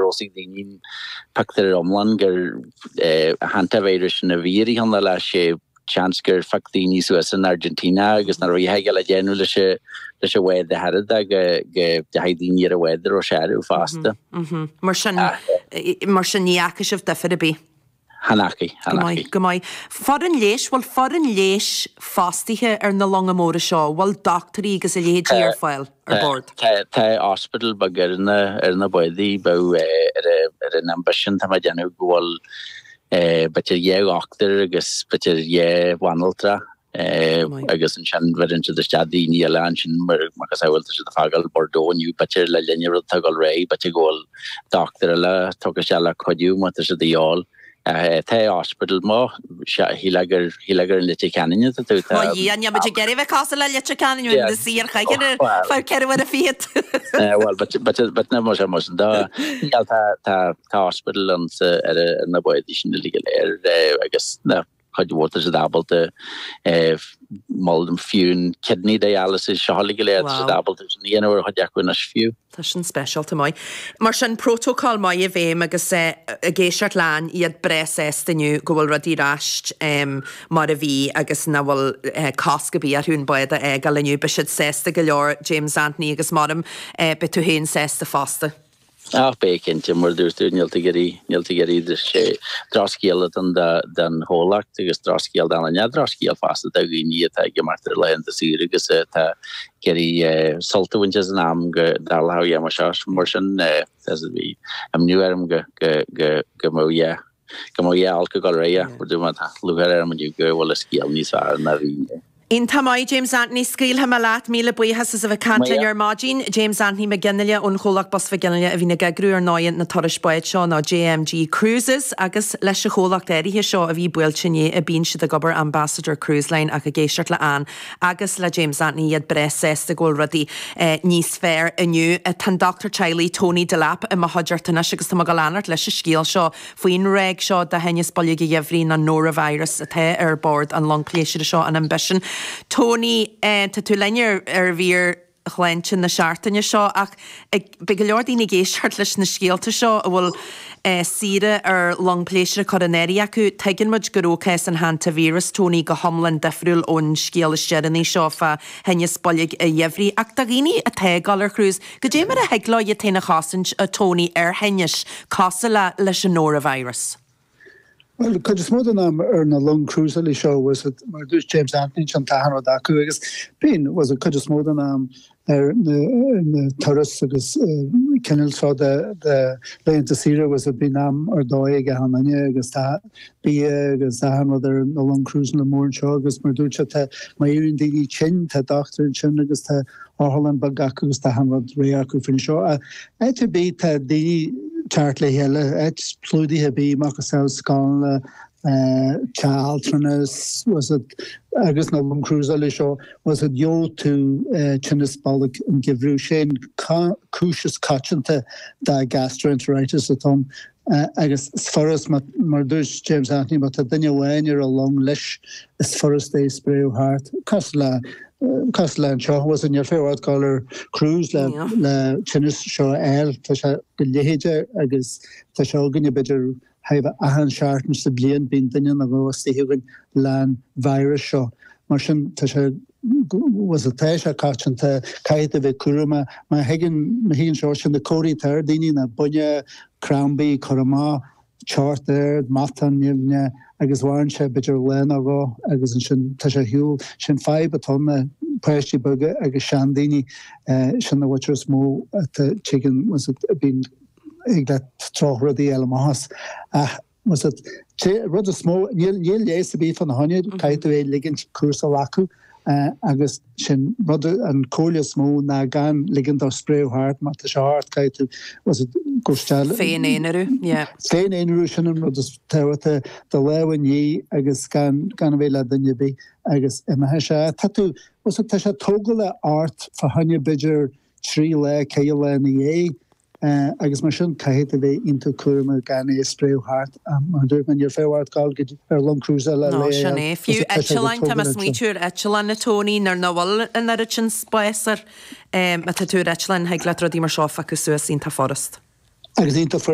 raibh a fhios ag daoine an pictiúr iomlán gur hantavirus sin a bhí ar cheann eile sé seans gur phioc daoine suas in Argentina agus nach raibh a dhath le déanamh leis an leis an bhád a thairfead go go dteachaigh daoine ar an bhád a raibh sé orthu fosta. Mar sin mar sin ní fhaca sibh difear ar bith? Chan fhacaigh, chan Go maith, fhacaigh. go maith. Foireann leighis, bhfuil foireann leighis fostaithe ar na longa móra seo? Bhfuil dochtúirí agus a leithéidí ar fáil ar bord? Tá, tá hospital beag ar na, ar na bádaí, bheadh ar a, ar an Ambition, tá mé ag déanamh go bhfuil b'fhéidir dhá dhochtúir agus b'fhéidir dhá bhanaltra agus ansin bheireann siad isteach daoine eile ansin mar macasamhail tá siad ag fágáil Bordeaux inniu b'fhéidir le linn an rud atá ag dul ar aghaidh b'fhéidir go bhfuil dochtúir eile tugtha isteach le cuidiú má tá siad de dhíobháil. Tá hospital má shílfeá gur shílfeá gur in Leitir Ceanainn atá tú tá Ó Dhia, níl muid ag iarraidh bheith cosúil le Leitir Ceanainn bhí na saoir chuige ar feadh ceithre uaire fichead. Bhuel but but but ná mar sin de níl tá tá Tá hospital ann sa ar na bádaí sin uilig go léir agus na cuid mhór tá siad ábalta mol fiú an kidney dialysis seo uilig go léir tá siad ábalta sin a dhéanamh ar chuid acu anois fiú. Tá sin speisialta maith. Mar sin prótócál maith i bhfeidhm agus ag éisteacht le Ann iad breá sásta inniu go bhfuil rudaí ar ais mar a bhí agus nach bhfuil cosc ar bith orthu an bád a fhágáil inniu. Beidh siad sásta go leor James Anthony agus maram beidh tú féin sásta fosta. Ach beidh, cinnte, mar a dúirt tú, níl tú ag iarraidh, níl tú ag iarraidh, sé drochscéal atá ann don chomhlacht agus drochscéal don duine, drochscéal fosta do dhaoine atá ag imeacht ar laethanta saoire agus atá ag iarraidh sult a bhaint as an am go dtarlódh a dhath mar seo. Mar sin, bhí imní orm go, go, go, go mbeadh, yeah. Go mbeadh a dhath olc ag dul ar aghaidh, mar dúirt mé, tá lúcháir orm inniu go bhfuil an scéal níos fearr ná a bhí inné. Iontach maith, James Anthony. Scaoilfidh mé leat. Míle buíochas as a bheith ag caint linn ar maidin. James Anthony Mac Fhionnghaile ón chomhlacht Bus Mhic Fhionnghaile a bhíonn ag eagrú ar ndóigh na turais báid seo nó JMG Cruises agus leis an chomhlacht áirithe seo a bhí buailte inné a bíonn siad ag obair Ambassador Cruise Line ach ag éisteacht le Ann agus le James Anthony iad breá sásta go bhfuil rudaí níos fearr inniu. Tá an dochtúir teaghlaigh Tony Delap i mo chuideachta anois agus tá mé ag dul a fhanacht leis an scéal seo faoin ráig seo de thinneas boilg an gheimhridh nó norovirus atá ar bord an long pléisiúir seo, an Ambition. Tony, tá tú linn ar ar mhír shláinte na seachtaine seo ach beidh go leor daoine ag éisteacht leis na scéalta seo a bhfuil saoire ar long pléisiúir curtha in áirithe acu. Tuigeann muid go raibh cás an hantavirus, Tony, go hiomlán difriúil ón scéal is deireanaí seo fá thinneas boilg an gheimhridh ach do dhaoine atá ag dul ar cruise, Goidé mar a thig leo iad féin a chosaint, a Tony, ar thinnis cosúil le leis an norovirus? Bhuel, cuid is mó den am ar na long cruiseálaí seo, bhfuil 's a'd, mar a dúirt James Anthony, ansin tá achan rud acu agus bíonn, bhfuil 's a'd, cuid is mó den am ar na, ar na turais agus cineál seo de, de laethanta saoire, bhfuil 's a'd, bíonn am ar dóigh ag achan duine agus tá bia agus achan rud ar na long cruiseála mór anseo agus mar a dúirt sé, tá, má éiríonn daoine tinn, tá dochtúir ansin agus tá otharlann beag acu agus tá achan rud réidh acu faoin seo. Áit ar bith tá daoine teacht le chéile, áit plódaithe ar bith, macasamhail scoileanna, teach altranais, bhfuil 's a'd, agus na long cruiseála seo, bhfuil 's a'd, gheobhaidh tú tinneas bolg an gheimhridh. Sé an cúis is coitianta de gastroenteritis atá ann. Agus is furast, mar a dúirt James Anthony, má tá duine amháin ar an long leis, is furast é a spréadh thart, cosúil le, cosúil le anseo, bhfuil 's a'd, níl féar ort dul ar cruise le, le tinneas seo a fháil, tá sé go leithéide agus tá sé againne b'fhéidir thart fá achan seachtain sa bhliain, bíonn duine nó dhó istigh againn le'n virus seo. Mar sin, tá sé, bhfuil 's a'd, tá sé coitianta, caithfidh tú a bheith cúramach. Má thigeann, má thigeann seo, sin na comharthaí atá ar daoine ná buinne, crampaí, cur amach, teocht ard, matán nimhneach agus mhaireann sé b'fhéidir lá nó dhó agus ansin tá sé ar shiúl. Sin fadhb atá ann ná páistí beaga agus seandaoine, sin na mhuintir is mó atá, tigeann, bhfuil 's a'd, bíonn, thig leat drochrudaí a fháil amach as. Ach bhfuil 's a'd, rud is mó, níl leigheas ar bith fána choinne, caithfidh tú é a ligint cúrsa a ghlacadh agus sin rud, an comhairle is mó ná gan ligean dó spréadh thart, má tá sé ort caithfidh tú, bhfuil 's a'd, go isteach. Féin-aonarú, yeah. Féin-aonarú, sin an rud is tábhachtaí, do lámha a ní agus gan gan a bheith le duine ar bith agus imeoidh sé. Tá tú, bhfuil 's a'd, tá sé tógáil ort fá choinne b'fhéidir 3 lá, 4 lá ina dhiaidh. Agus mar sin, caithfidh tú bheith iontach cúramach gan é a spréadh thart. Mar a dúirt mé, níl féar ort dul go dtí ar long cruise le No, sin é. Fiú eitleáin, tá mé ag smaointiú ar eitleán, a Tony, nuair nach bhfuil an oiread sin spáis air. Má tá tú ar eitleán, thig leat rudaí mar seo a phiocadh suas iontach furast. Agus iontach furast.